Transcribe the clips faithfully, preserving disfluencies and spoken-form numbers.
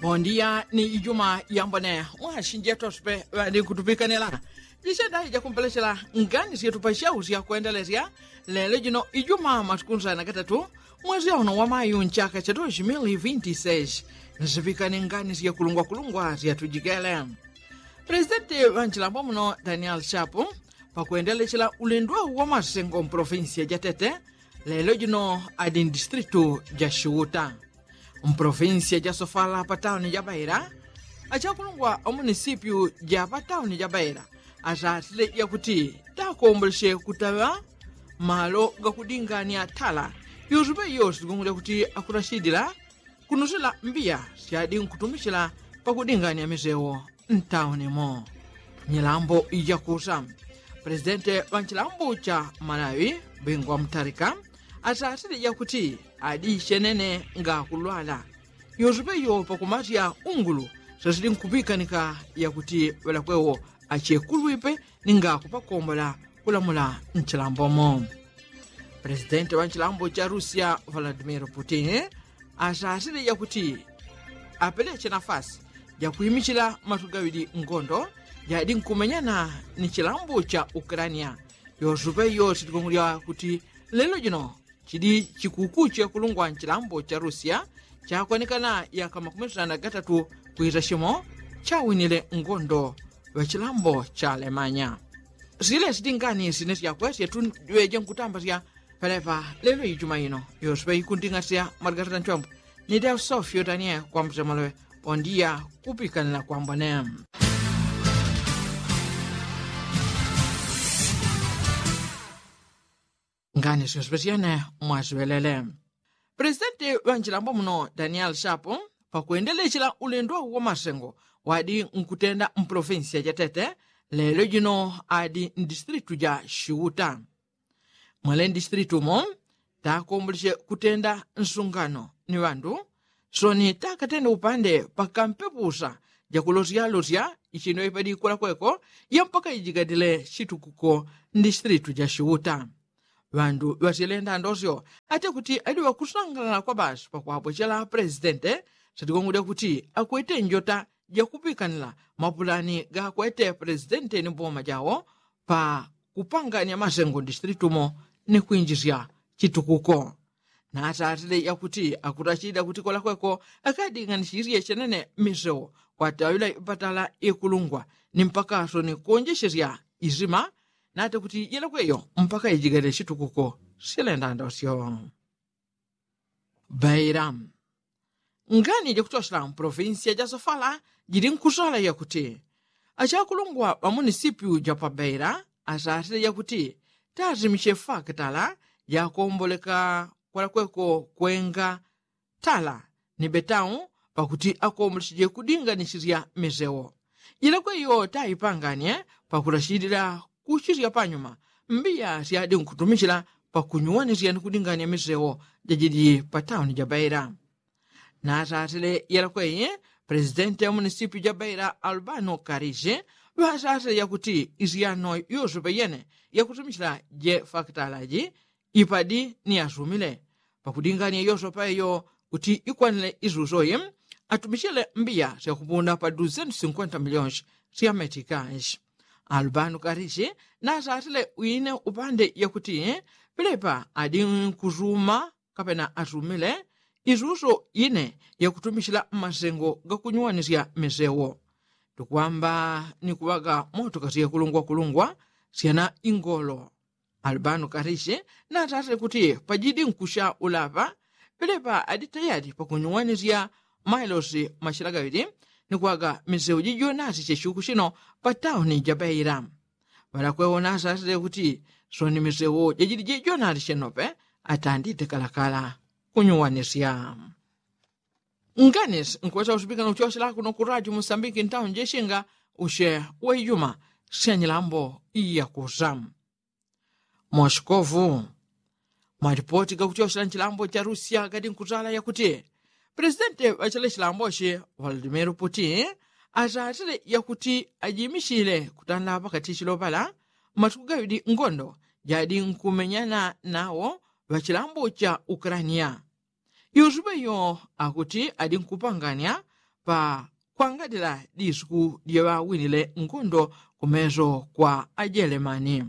Bondiya ni ijuma yambone mwasinjetu asupe ŵali kutupikanila. Jisenda ijakumpelechela ngani syetu pasyausya kwendelesya lelo jino ijuma matukunza na gatatu mwezi auno wa mayu nchaka cha dosi mili vinti seis. Nsipikane ngani syekulungwakulungwa syatujikele. Presidenti ŵanchilambo muno daniel shapu pakwendelechela ulendo wa masengo mpolofinsiya jatete lelo jino adi ndistritu ja shuta. Mpolofinsiya ja sofala patauni ja baila achakulungwa amunisipyu ja patauni ja baila asasile yakuti takomboleche kutaŵa malo gakudingania tala. Yosupe yosi gungulya kuti akurashidila kunusila mbiya syadi nkutumichila pakudingania misewo ntauni mo. Nyilambo ijakusa presidente ŵanchilambo cha malawi bingwa mtarika asasile yakuti adi chenene ngakulwala. Yosupe yo pakumasya ungulu sasili nkupikanika yakuti ŵalakwewo achekulwipe ninga kupakombola kulamula nchilambomo. Presidenti ŵanchilambo cha rusia vladimir putin asasile yakuti apeleche nafasi jakwimichila matugaŵili ngondo jadi nkumenyana ni chilambo cha ukrania. Yosupe yo sitikungulya kuti lelo jino chidi chikuku chekulungwa nchilambo cha rusia chakwanekana yaka makumi sitana gatatu kwisa shimo chawinile ngondo ŵachilambo cha alemanya. Sile sitingani sine syakwe syetu ŵeje nkutamba sya pelepa lelo ijuma ino yosupe ikunding'asya maligatata nchwambu ni deo sofyo danie kwambusemolowe. Pondiya kupikanila kwambone. Ngani syonse pesyene mwasiŵelele. Presidenti ŵanchilambo muno daniel shapu pakwendelechela ulendo wa masengo wadi nkutenda mpolofinsiya jatete lelo jino adi ndistritu ja shuta. Mwele ndistritu mo takomboleche kutenda nsungano ni ŵandu soni takatenda upande pakampepusa jakulosyalosya ichino ipadi kulakweko ya mpaka ijigadile chitukuko. Ndistritu ja shuta ŵandu ŵasyelenda ndosyo ate kuti adi ŵakusangalala kwa basi pakwapwechela presidente satikongolya kuti akwete njota jakupikanila mapulani gakwete presidente ni boma jawo pa kupanganya masengo ndistritumo ni kwinjisya chitukuko. Natatile yakuti akutachida kuti kolakweko akading'anisisye chenene misewo kwataŵila ipatala ikulungwa ni mpakaso ni kuonjechesya izima nate kuti yelekweyo mpaka ijigele chitukuko silenda ndosyo. Baila ngani jakuchochela mpolofinsiya ja sofala jili nkusala yakuti achakulungwa ŵamunisipyu ja pabaila asatile yakuti tazimiche fakitala jakomboleka kwalakweko kwenga tala ni betau pakuti akomboleche kudinganisisya misewo. Jilakwe iyo taipanganye pakulachilila kuchisya panyuma mbiya syadi nkutumichila pakunyuwanisya ni kudinganya misewo jajili patauni ja baila. Nasasile yalakweyi presidenti ya munisipi ja baila albano karishi ŵasasile yakuti isyano yosope yene yakutumichila je fakitala ji ipadi ni asumile pakudingania yosope yo kuti ikwanile isusoyi atumichile mbiya syakupunda pa duzentu sinkwenta milionshi sya metikanshi. Albano karishi nasasile wine upande yakuti pilepa adi nkusuma kapena asumile isuso ine yakutumichila mmasengo gakunyuwanisya misewo tukwamba ni kuŵaga moto kasye kulungwakulungwa syana ingolo. Albano karishi natatile kuti pajidi nkusya ulapa pilepa adi tayali pakunyuwanisya mailosi machila gaŵili ni kuŵaga misewo jijonasi chechuku chino patauni ja baila. Ŵalakwewo nasasile kuti soni misewo jajili jijonasi chenope atandite kalakala kunyuwanisya. Nganisi nkwesa usupikana uchochela kuno ku radio musambiki ntauni jechinga uche wa ijuma syanyilambo iyakusa. Moskovu malipoti gakuchochela nchilambo cha rusia gadi nkutala yakuti presidenti ŵachele chilambochi volodimiro putin asatile yakuti ajimichile kutanda pakati chilopala matuku gaŵidi ngondo jadi nkumenyana nawo ŵachilambo cha ukrania. Yosupe yo akuti adi nkupanganya pa kwangadila disuku dyeŵawinile ngondo kumeso kwa ajelemani.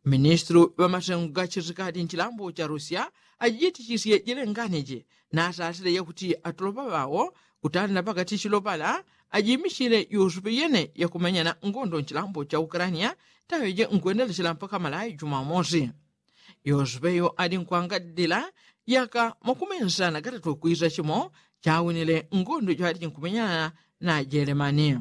Ministulu ŵamasengu ga chisikadi nchilambo cha rusia ajijitichisye jilengani ji, nasasile yakuti atolopa ŵawo kutanda pakati chilopala ajimichile yosupe yene yakumenyana ngondo nchilambo cha ukrania taŵeje nkwendelechela mpaka malayi jumamosi. Yosupe yo ali nkwangadila yaka makumi nsana gatatu kwisa chimo chawinile ngondo jwali jinkumenyana na jelemani.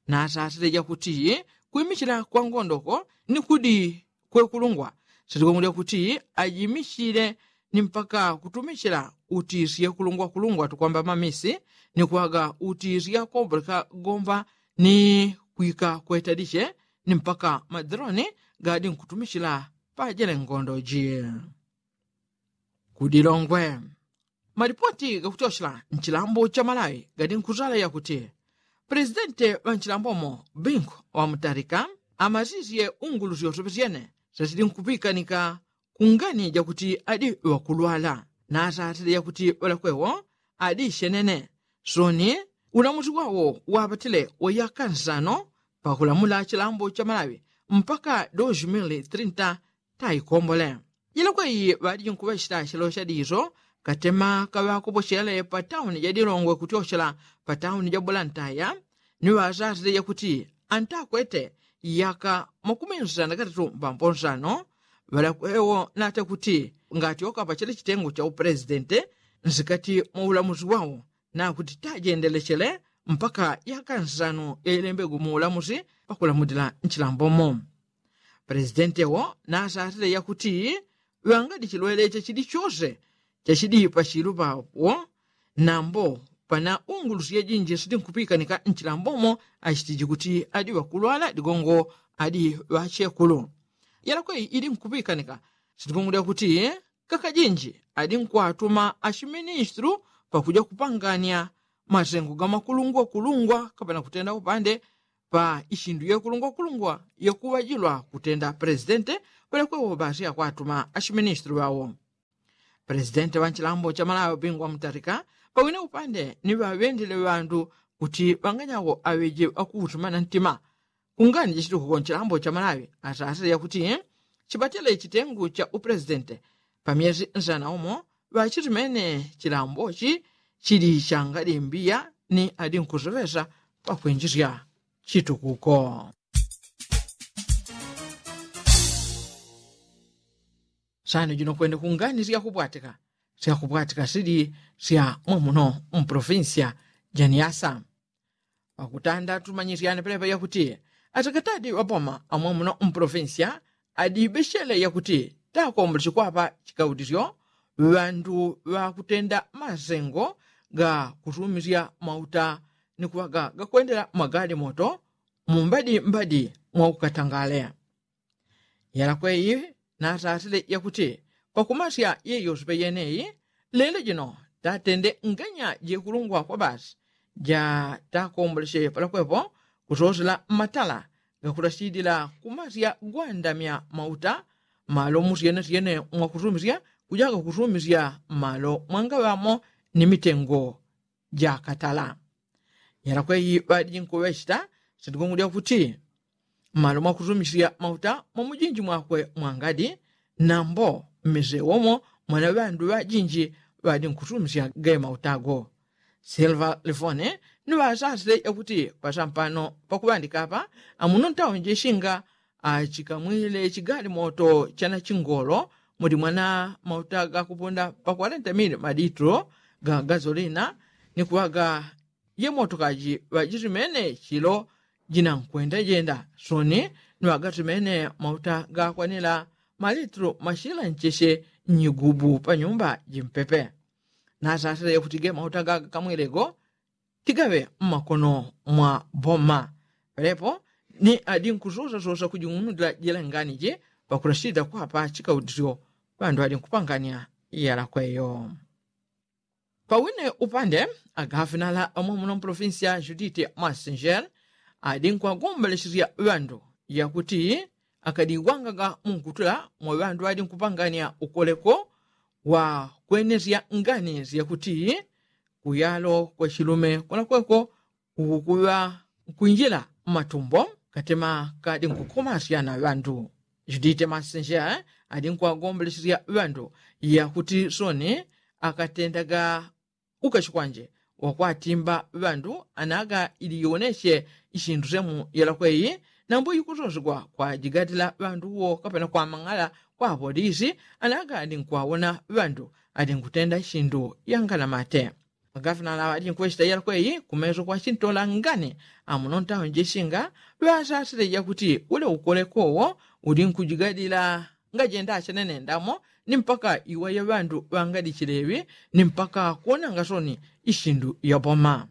Nasasile jakuti kwimichila kwa ngondo ko ni kudi kwekulungwa silikongolya kuti ajimichile ni mpaka kutumichila uti syekulungwakulungwa tukwamba mamisi ni kwaga uti syakopoleka gomba ni kwika kwetalishe ni mpaka madroni gadi nkutumichila pajele ngondo ji. Kudilongwe malipoti gakutyochela nchilambo cha malawi gadi nkuzala yakuti presidente ŵanchilambomo bingu ŵamutalika amasisye ungulu syosepe syene syasili nkupikanika kungani jakuti adi ŵakulwala nasatile yakuti ŵalakwewo adi syenene soni ulamusi wawo wapatile wayaka nsano pakulamula chilambo cha malawi mpaka dos mil trinta taikombole. Jilakwe iyi ŵadiji nkuŵachita chelo chadiso katema kaŵakopochele pa tauni ja dilongwe kutyochela pa tauni ja bulantaya ni ŵasasile jakuti antakwete yaka makumi nsana na katatu mbambo nsano ŵalakwewo nata kuti ngatyoka pa chele chitengo cha upresidente nsikati mwa ulamusi wawo nakuti tajendelechele mpaka yaka nsano yailembegwe mu ulamusi pakulamulila nchilambomo. Presidente wo nasasile yakuti ŵangadi chilwele chachidi chose chachidi pachilu pawo nambo pana ungulusi yajinji sidi nkupikanika nchilambomo achitiji kuti adi ŵakulwala digongo adi ŵachekulu. Yalakwe ili nkupikanika sidi kungulya kuti kakajinji adi nkwatuma achiministulu pakuja kupangania masengo ga makulungwakulungwa kapana kutenda upande pa ichindu yekulungwakulungwa yakuŵajilwa kutenda presidente ŵalekwewo basi akwatuma achiministulu ŵawo. Presidente ŵanchilambo cha malawi bingwa mutalika pawine upande ni ŵaŵendele ŵandu kuti ŵanganyawo aŵeje ŵakuutumana ntima kungani jachitukuko nchilambo cha malawi asasile yakuti chipatele chitengu cha upresidente pa myezi nsana umo ŵachitimene chilambochi chili changadimbiya ni adinkuseŵesa pakwinjisya chitukuko. Sano jino kwene kungani syakupwatika syakupwatika sili sya mwamuno mprovincia janiasa. Pakutanda tumanyisyane pelepa yakuti atakatadi ŵapoma amwamuno mprovincia adibechele yakuti takomboleche kwapa chikautisyo ŵandu ŵakutenda masengo ga kusumisya mauta ni kuŵaga gakwendela magali moto mumbadi mbadi mwaukatangale. Yalakweyi nasasile yakuti pakumasya yeyosepe yeneyi lelo jino tatende nganya jekulungwa kwa basi ja takomboleche palakwepo kusosela mmatala gakutasila kumasya gwandamya mauta malo musyenesyene mwakusumisya kujaga kusumisya malo mwangaŵamo ni mitengo jakatala. Yalakweyi ŵadiji nkuŵechita sindikungulya kuti mmalo mwakusumisya mauta mwamujinji mwakwe mwangadi nambo mmisewo mo mwana ŵandu ŵajinji ŵadi nkusumisya ge mauta go. Silva lifone ni ŵasasile yakuti pasampano pakuŵandika apa amuno ntaunji shinga achikamwile chigali moto chana chingolo muli mwana mauta gakupunda pa kwarenta mili malitlo ga gazolina ni kuŵaga ye motokaji ŵajisimene chilo jinankwenda jenda soni ni ŵagasimene mauta gakwanila malitlo mashila ncheche nyigubu pa nyumba jimpepe. Nasasile yakuti ge mauta gagakamwilego tigaŵe mmakono mwa boma. Pelepo ni adinkusosasosa kujing'unulila jila nganiji pakutasila kwapa chikautisyo ŵandu adinkupangania yalakweyo. Pawine upande agafinala amwamuno mprovincia judite massinger adinkwagombolechesya ŵandu yakuti akadiwangaga munkutula mwa ŵandu ŵadinkupangania ukoleko wa kwenesya ngani syakuti kuyalo kwa chilume kwalakweko kukuŵa nkwinjila mmatumbo katema kadi nkukhomasyana ŵandu. Judite masenjea adi nkwagombolesya ŵandu yakuti soni akatendaga ukachikwanje wakwatimba ŵandu anaga ili yonesye isindu semu yalakweyi nambo ikusosegwa kwajigatila ŵandu wo kapena kwamang'ala kwa apolisi anaga adi nkwawona ŵandu adi nkutenda isindu yanganamate. Magavana laŵa adi nkwesita yalakweyi kumeso kwa chintola ngani amuno ntawo njesinga ŵasasile yakuti ule ukolekowo uli nkujigadila ngajenda achanene ndamo ni mpaka iwaya ŵandu ŵangadichileŵi ni mpaka kuonanga soni isindu yaboma.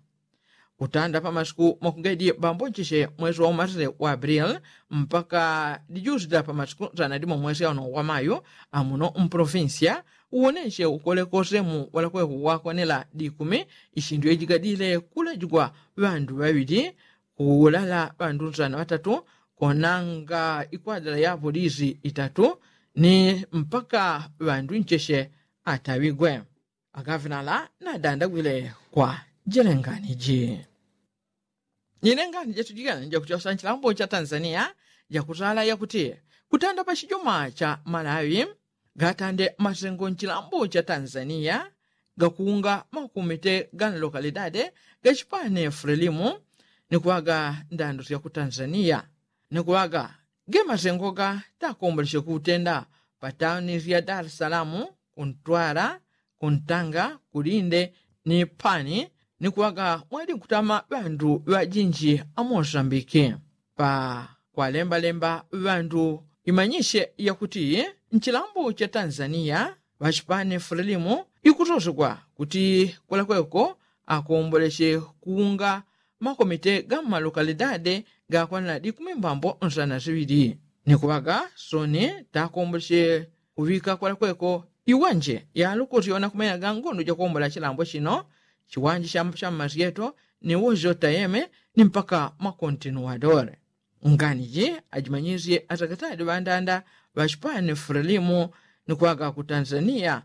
Kutanda pamasiku mwakugaidi bambo ncheche mwesi wa umasile wa abril mpaka dijusila pamasiku sana dimo mwesi auno wa mayu amuno mpolofinsia uwoneshe ukolekose mu walakweku wakonela dikumi isindu yejigadile kulajigwa ŵandu ŵaŵili kuulala ŵandu sana ŵatatu konanga ikwadala ya apolisi itatu ni mpaka ŵandu ncheche ataŵigwe. Agavinala nadandagwile kwa jelengani ji. Nilengani jatujigana jakuchosa nchilambo cha tanzania jakutala yakuti kutanda pa chijoma cha malawi gatande masengo nchilambo cha tanzania gakunga makumite ga nlokalidade gachipane frelimu ni kuŵaga ndandu sya ku tanzania ni kuŵaga ge masengo ga takomboleche kutenda pa tauni sya dar es salamu kuntwala kuntanga kulinde ni pani ni kuŵaga mwali nkutama ŵandu ŵajinji amosambiki pa kwalembalemba ŵandu imanyishe yakuti nchilambo cha tanzania ŵachipani frelimu ikusosegwa kuti kwalakweko akomboleche kuunga makomite ga mmalokalidade gakwanana dikumi mbambo nsana siŵili ni kuŵaga soni takomboleche kuŵika kwalakweko iwanje yalukusyona kumenya ga ngondo jakombola chilambo chino chiwanje cha mmasyeto ni wojo tayeme ni mpaka makontinuadore. Ngani ji ajimanyisye asakatadi ŵandanda ŵachipani frelimu ni kuŵaga ku tanzania